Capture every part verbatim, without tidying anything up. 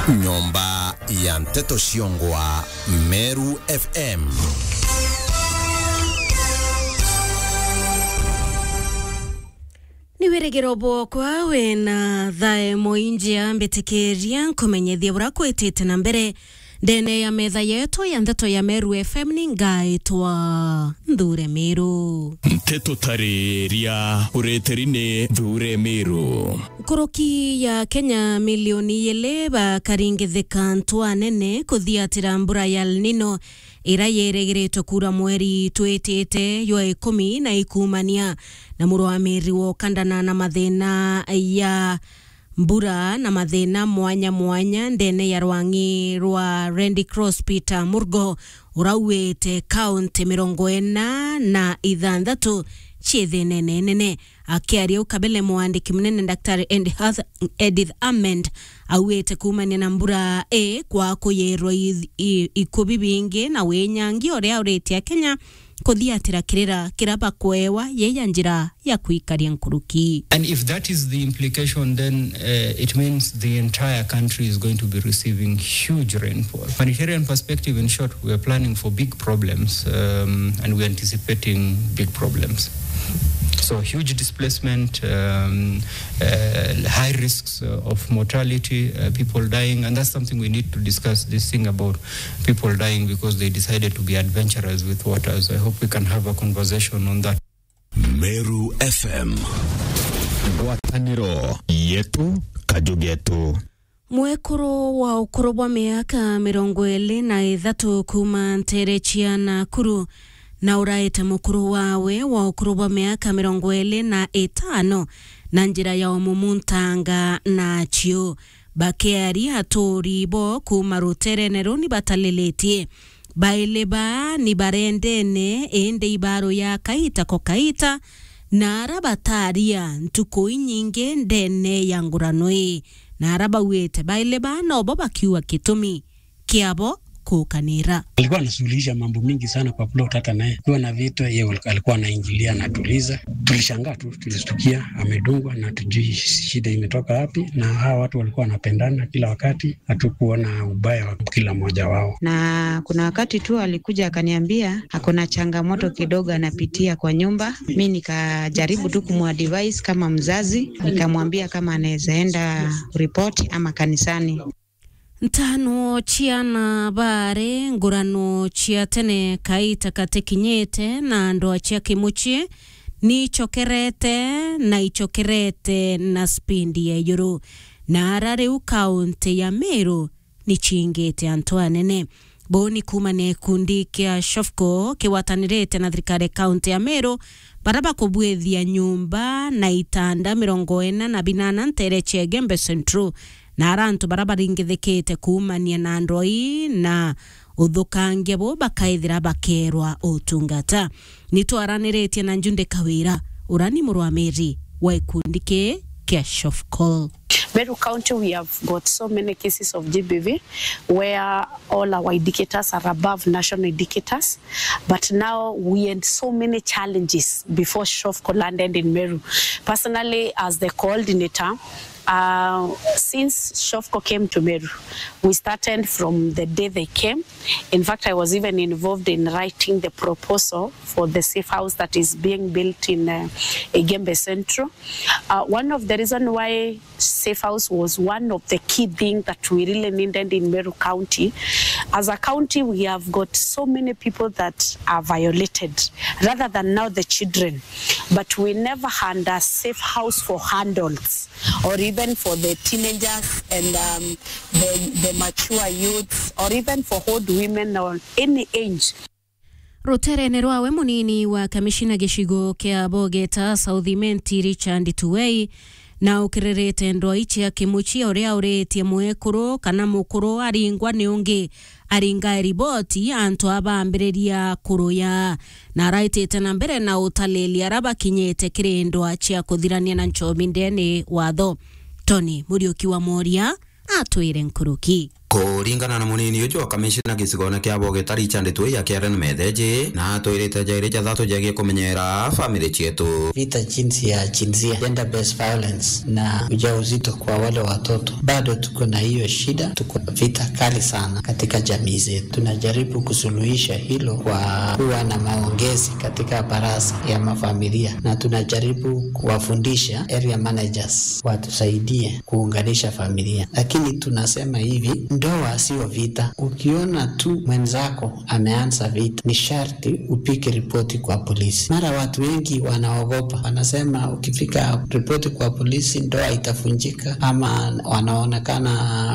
Nyomba ya nteto ciongwa Meru F M. Ni wirigiro bwokwa wina thae muinjia mbitikiria nkumenyethia bura kwitite na mbere ndene ya metha yetu ya nteto ya Meru F M. Ni ngaitwa Nthure Miru. Nteto tariria ureteri ni Nthure Miru. Nkuruki ya Kenya milioni ili bakaringithika ntwa nene kuthiatira mbura ya El Nino ira yeregiritwe kuura mweri twitite jwa ikumi na ikumania na murwamiri wokandana na mathina ya mbura na mathina mwanya mwanya ndene ya rwang'i rwa Red Cross Peter Murgo urauite kaunti mirongo ina na ithanthatu cii thinene nene. Akiaria u kabele, mwandiki munene Daktari Edith Hath-, Edith Hammond auite kuumania na mbura i kwa kuyirwa i-, i-, ikubi bingi na winyangi uria uritie Akenya kuthiatira kirira kiria bakwewa yeya njira ya kwikaria nkuruki. And if that is the implication, then, uh, it means the entire country is going to be receiving huge rainfall. Humanitarian perspective, in short, we are planning for big problems, um, and we are anticipating big problems. So huge displacement, um, uh, high risks, uh, of mortality, uh, people dying, and that's something we need to discuss, this thing about people dying because they decided to be adventurous with waters. I hope we can have a conversation on that. Meru F M. Ngwataniro yetu, kaju getu. Mwekuru wa ukuru bwa miaka mirongo iri na ithatu kuuma ntere cia Nakuru na uraite mukuru wawe wa ukuru bwa miaka mirongo iri na itano na njira ya umumuntanga na aciu. Bakiari aturi bo kuuma ruterene ruu ni batalilitie. Baili baa ni barendene, indi ibaru ya kaita ko kaita, na ara bataria ntuku inyingi ndene ya ngurano ii, na ara bauite baili baa nobo bakiuga gitumi kiabo kuukanira. Alikuwa anasuluhisha mambo mingi sana kwa plot, hata naye kuwa na vita, yeye alikuwa anaingilia, anatuliza. Tulishangaa tu, tulistukia amedungwa na tujui shida imetoka wapi, na hawa watu walikuwa wanapendana kila wakati. Hatukuona ubaya wa kila mmoja wao. Na kuna wakati tu alikuja akaniambia ako na changamoto kidogo anapitia kwa nyumba. Mi nikajaribu tu kumadvise kama mzazi, nikamwambia kama anaweza enda kuripoti ama kanisani. Ntano ciana baare ngurano cia tene kaita katekinyite na andu acia kimucii ni icokerete na icokerete na spindi ya iguru. Na ara riu kaunti ya Meru ni ciingite antu anene. Buu ni kuumania na gikundi kia Shofco kigwatanirite na thirikari ya kaunti ya Meru, bara bakubwithia nyumba na itanda mirongo ina na binana ntere cia Igembe Central, na ara antu bara baringithikite kuumania na ndwai na uthukangia buu bakaithira bakeerwa utungata. Ni twaraniritie na Njunde Kawira, ura ni murwamiri wa gikundi kii kia Shofco. Meru County, we have got so many cases of G B V where all our indicators are above national indicators, but now we had so many challenges before Shofco landed in Meru. Personally, as the coordinator, uh, since Shofco came to Meru, we started from the day they came. In fact, I was even involved in writing the proposal for the safe house that is being built in, uh, Igembe Central. Uh, one of the reason why safe house was one of the key things that we really needed in Meru County. As a county, we have got so many people that are violated, rather than now the children. But we never had a safe house for adults, or even for the teenagers and, um, the, the mature youths, or even for old women or any age. Ruterene rwawe, munini wa kamishina gicigo kia Bogeta South Imenti, Richard Tuwei, na ukiririte ndwai cia kimucii uria uritie mwekuru kana mukuru aringwa ni ungi aringa riboti, antu aa bambiriria kuruya, na araitite na mbere na utalilia ara bakinyite kiri ndwa cia kuthirania na nchomi ndene watho. Tony Muriuki wa Moria atwire nkuruki. Kuringana na munini uju wa kamishina gicigone kia Bogeta, Richard Twei, ya Karen Metheji, na atwirite jairi jathatu jegie kumenyera family cietu. Vita jinsi ya jinsia, gender based violence, na ujauzito kwa wale watoto, bado tuko na hiyo shida. Tuko vita kali sana katika jamii zetu. Tunajaribu kusuluhisha hilo kwa kuwa na maongezi katika baraza ya mafamilia, na tunajaribu kuwafundisha area managers watusaidie kuunganisha familia. Lakini tunasema hivi, ndoa sio vita. Ukiona tu mwenzako ameanza vita, ni sharti upige ripoti kwa polisi. Mara watu wengi wanaogopa, wanasema ukifika ripoti kwa polisi, ndoa itavunjika ama wanaonekana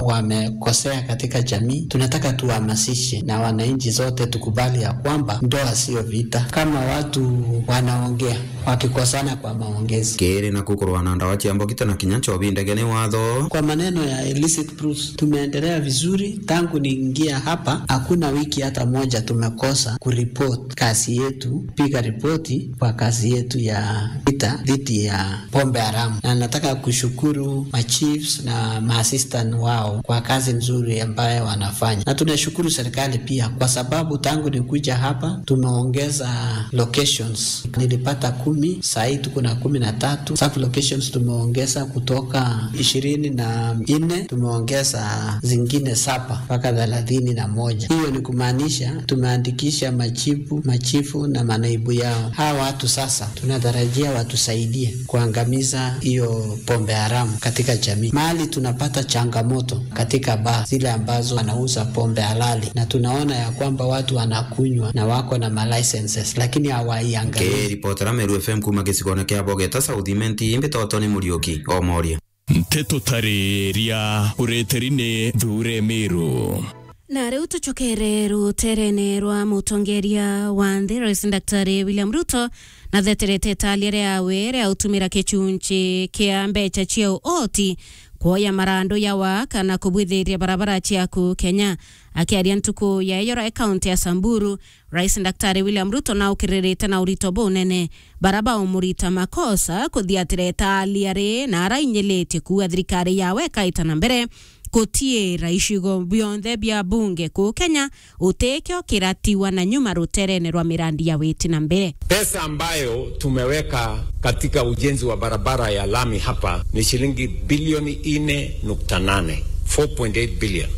wamekosea katika jamii. Tunataka tuhamasishe na wananchi zote tukubali ya kwamba ndoa sio vita. Kama watu wanaongea wakikosana kwa maongezi. Kiri na kukurwa na ndawa cia mbogita na kinya nchobi ndege ni watho. Kwa maneno ya illicit brews, tumeendelea vizuri tangu niingia hapa. Hakuna wiki hata moja tumekosa kuripoti kazi yetu, piga ripoti kwa kazi yetu ya vita dhidi ya pombe haramu. Na nataka kushukuru machiefs na maassistant wao kwa kazi nzuri ambayo wanafanya. Na tunashukuru serikali pia kwa sababu tangu nikuja hapa tumeongeza locations. Nilipata kumi, saa hii tuko na kumi na tatu. Sub locations tumeongeza kutoka ishirini na nne, tumeongeza zingine saba mpaka thelathini na moja. Hiyo ni kumaanisha tumeandikisha machifu, machifu na manaibu yao. Hawa watu sasa tunatarajia watusaidie kuangamiza hiyo pombe haramu katika jamii. Mahali tunapata changamoto katika baa zile ambazo wanauza pombe halali, na tunaona ya kwamba watu wanakunywa na wako na ma licenses, lakini hawaiangalii. Nkiripotera Meru F M kuuma gicigone kia Bogeta South Imenti, mbitotwe ni Muriuki Omoria. Nteto tariria ureteri ni Thure Meru. Na riu tucokere ruterene rwa mutongeria wa nthi, Rais Daktari William Ruto, na theterete italia riawe ria utumira kichunchi kia mbecha cia uoti kuoya marandu ya waka na kubwithiria barabara cia kuu Kenya. Akiaria ntuku ya iyoro e kaunti ya Samburu, Rais Daktari William Ruto naukiririte na urito bunene bara baumurita makosa kuthiatira italia ri na arainyilitie kuuga thirikari yawe ikaita na mbere kutiira icigo bionthe bia bunge kuu Kenya utikio kiratiwa na nyuma ruterene rwa mirandi ya witi na mbere. Pesa ambayo tumeweka katika ujenzi wa barabara ya lami hapa ni shilingi bilioni nne nukta nane, four point eight billion,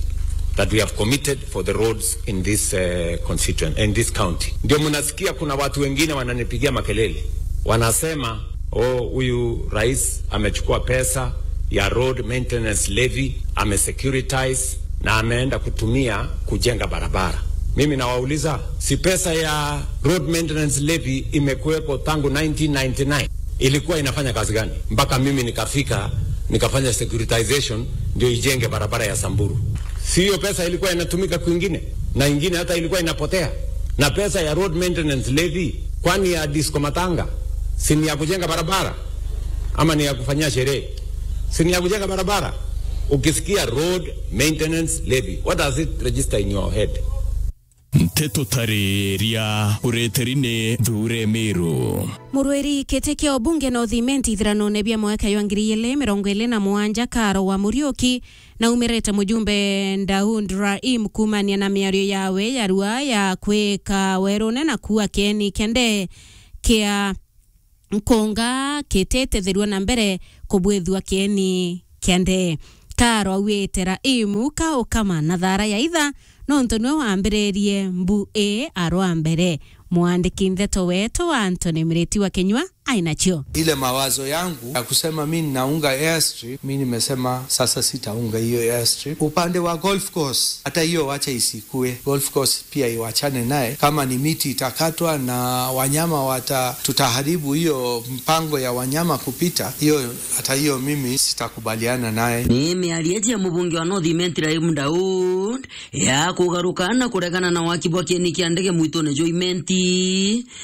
that we have committed for the roads in this, eh, constituent, in this county. Ndio mnasikia kuna watu wengine wananipigia makelele, wanasema, "Oh, huyu rais amechukua pesa ya road maintenance levy, amesecuritize na ameenda kutumia kujenga barabara." Mimi nawauliza, si pesa ya road maintenance levy imekuweko tangu nineteen ninety-nine? Ilikuwa inafanya kazi gani mpaka mimi nikafika, nikafanya securitization ndio ijenge barabara ya Samburu? Si hiyo pesa ilikuwa inatumika kwingine, na ingine hata ilikuwa inapotea? Na pesa ya road maintenance levy, kwani ya disco matanga, si ni ya kujenga barabara ama ni ya kufanyia sherehe? Si ni ya kujenga barabara? Ukisikia road maintenance levy, what does it register in your head? Nteto tariria ureteri ni Thure Meru. Murwiri kiti kia ubunge North Imenti ithiranone bia mwaka jwa ngiri igiri mirongo iri na mugwanja, Karo wa Muriuki, naumirite mujumbe Daud Raim kuumania na miario yawe ya rua ya kwika werune na kuua kieni kia ndee kia nkunga kitetethirua na mbere kubwithua kieni kia ndee. Karo auite Raim kaukama na thara ya itha, nontu niwe wambiririe mbu ii arwa mbere. Mwandiki ndeto wetu Anthony Miriti wa Kinyua ainacio. Ile mawazo yangu ya kusema mi ninaunga airstrip, mi nimesema sasa sitaunga hiyo airstrip. Upande wa golf course, hata hiyo wacha isikue. Golf course pia iwachane naye. Kama ni miti itakatwa na wanyama wata-, tutaharibu hiyo mpango ya wanyama kupita, hiyo, hata hiyo mimi sitakubaliana naye. Ni miario iji ya mubunge wa North Imenti Raim Daud ya kugaruka na kuregana na waki bwa kieni kia ndege mwitune jwa Imenti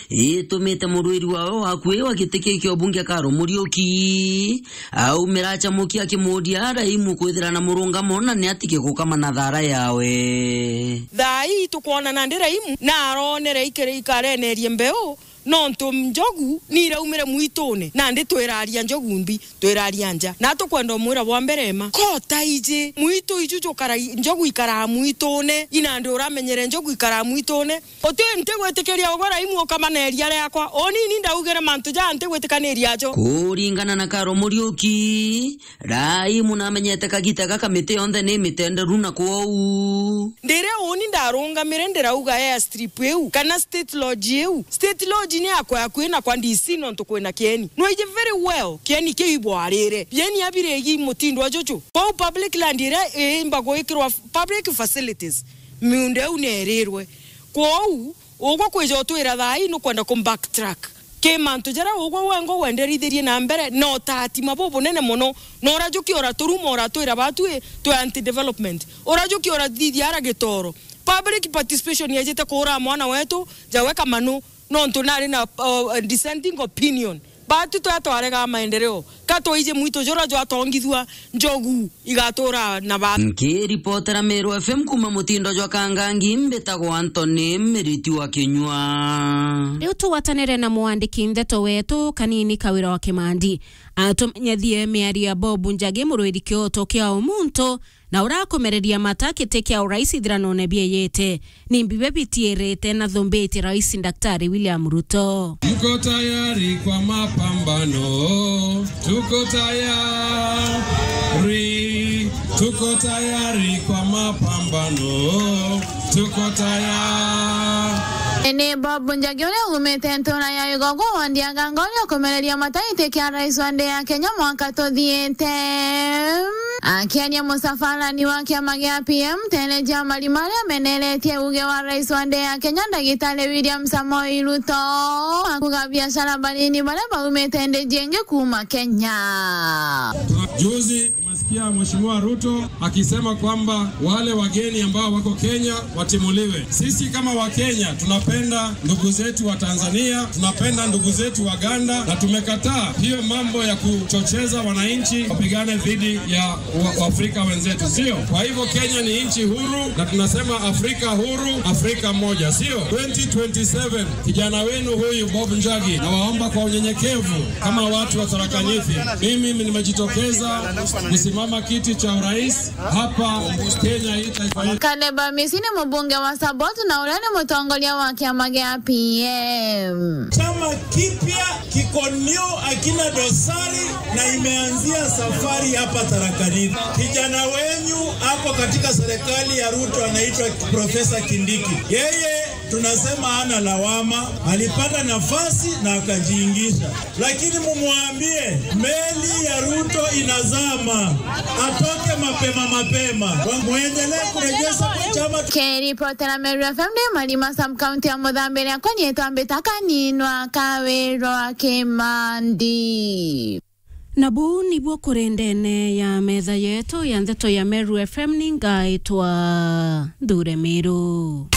itumite murwiri wawe wa akui wa giti kiu kia ubunge Karo Muriuki aumira achamukia akimuria Raim kwithira na murungamo na ni atige gukama na thara yawe. Thaa ii tukwonana ndi Raim na aronere ikiri ikarenerie mbeu Nontu njogu ni iraumire mwitune, nandi twiraria njogu mbi, twiraria nja. Na tukwenda umwira bwa mbere ma, kota iji, mwitu iju jukara, njogu ikaraa mwitune, inandi uramenyere njogu ikaraa mwitune. Uti ntigwitikiria ugwe Raimu ukamaneria riakwa. Unini ndaugire mantu jaa ntigwitikaniria jo. Kuringana na Karo Muriuki, Raimu namenyete kagita gaka miti yonthe ni mitenderu na kwou. Ndire uni ndarungamire ndirauga airstrip iu, kana state lodge iu. State lodge ni yakwa akui na kwa D C nontu kwina kieni. Nwiji very well, kieni kiu ibwarire. Bieni abirigi mutindo juju. Kwou public land iria iimba gwikirwa public facilities, miunda iu nierirwe. Kwou, ugwe kwija utwira thaa ii nukwenda ku backtrack ki mantu jaria ugwe wengwa wenderithirie na mbere na utatima bubunene mono, na urajukia uraturuma uratwira batwi twi anti development, urajukia urathithia ara gitoro. Public participation yejite kuura mwana wetu, jawe kamanu, nontu nari na, uh, dissenting opinion. Batu twa twarega maendeleo, ka twaije mwitu jura jwatongithua, njogu igatura na ba. Nkiripotera Meru F M kuma mutindo jwa Kangangi, mbitagwa Anthony Miriti wa Kinyua. Riu tugwatanire na mwandiki ndeto wetu Kanini Kawira wa Kimandi, atumenyethie miario ya Bob Njagi, murwiri kioto kia umuntu, na urakomereria mata giti kia urais ithiranone bieyete. Ni mbibe bitiirite na thumbiti Rais Daktari William Ruto. Mko tayari kwa mapambano? Tuko tayari. Tuko tayari kwa mapambano. Tuko tayari. Ni Bob Njagi uria umite ntura ya Igogo wandi ya Ganga uria ukomereria mata giti kia rais wa nthi ya Kenya mwaka tuthiite. Akiaria musafarani wa kiama gia P M, Teresia Marima aria ameneretie uge wa rais wa nthi ya Kenya, Ndagitari William Samoei Ruto, akuga biashara banini baria baumite nthi jingi kuuma Kenya. Juzi, umesikia Mheshimiwa Ruto akisema kwamba wale wageni ambao wako Kenya watimuliwe. Sisi kama Wakenya tunapenda ndugu zetu wa Tanzania, tunapenda ndugu zetu wa Uganda, na tumekataa hiyo mambo ya kuchocheza wananchi wapigane dhidi ya wa-, Waafrika wenzetu, sio? Kwa hivyo Kenya ni nchi huru, na tunasema Afrika huru, Afrika moja, sio? Twenty twenty-seven, kijana wenu huyu Bob Njagi, nawaomba kwa unyenyekevu kama watu wa Tharaka Nithi, mimi nimejitokeza kusimama kiti cha urais hapa Kenya hii taifa letu. Caleb Amisi ni mubunge wa Saboti na uria ni mutongoria wa kiama gia P M. Chama kipya kiko new, akina dosari, na imeanzia safari hapa Tharaka Nithi. Kijana wenyu ako katika serikali ya Ruto, anaitwa Profesa Kindiki. Yeye tunasema hana lawama, alipata nafasi na akajiingisha. Lakini mumwambie, meli ya Ruto inazama, atoke mapema mapema. Muendelee kurejesha kwa chama. Kiripotera Meru F M ni Marima, sub-county ya Muthambi, riakwa nietwa Mbita Kaninwa Kawirwa Kimandi. Na buu nibuo kuri ndene ya metha yetu ya ndeto ya Meru F M, ni ngaitwa Nthure Miru.